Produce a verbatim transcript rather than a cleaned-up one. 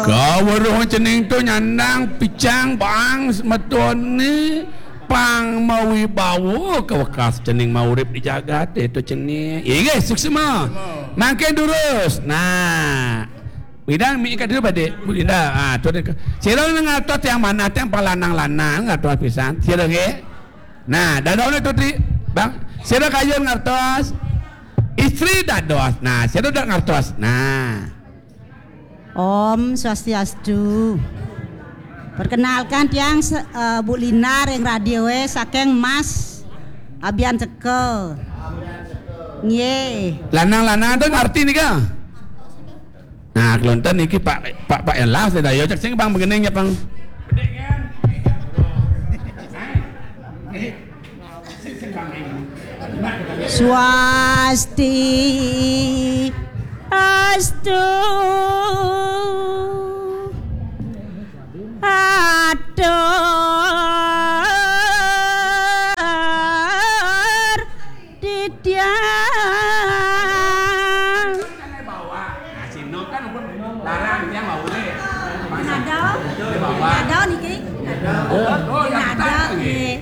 Ya, weruh cening tu nyandang picang bang semetone pang mawibawa ka wekas cening maurip di jagat itu cening. Inggih, suksma. Mangkin durus. Nah. Bidang mi ka dulu pada Bunda. Ah, tu dia. Sira ngartos tiang manah tiang palanang-lanang ngartos pisan. Sira nggih. Nah, dadone tu ti, Bang. Sira kayun ngartos. Istri dados. Nah, sira dak ngartos. Nah. Om Swastiastu. Perkenalkan tiang se- eh, Bu Lina ring radioe saking Mas Abian Teka. Nggih. Lanang-lanang tu ngerti nika. Nah, kelonten niki Pak Pak Pak Elas dah yo cek sing Bang begening ya Bang. Swasti astu. Atur titiang. Nah, sino kan pun larang tiang mau le. Nada. Nada niki. Nada nggih.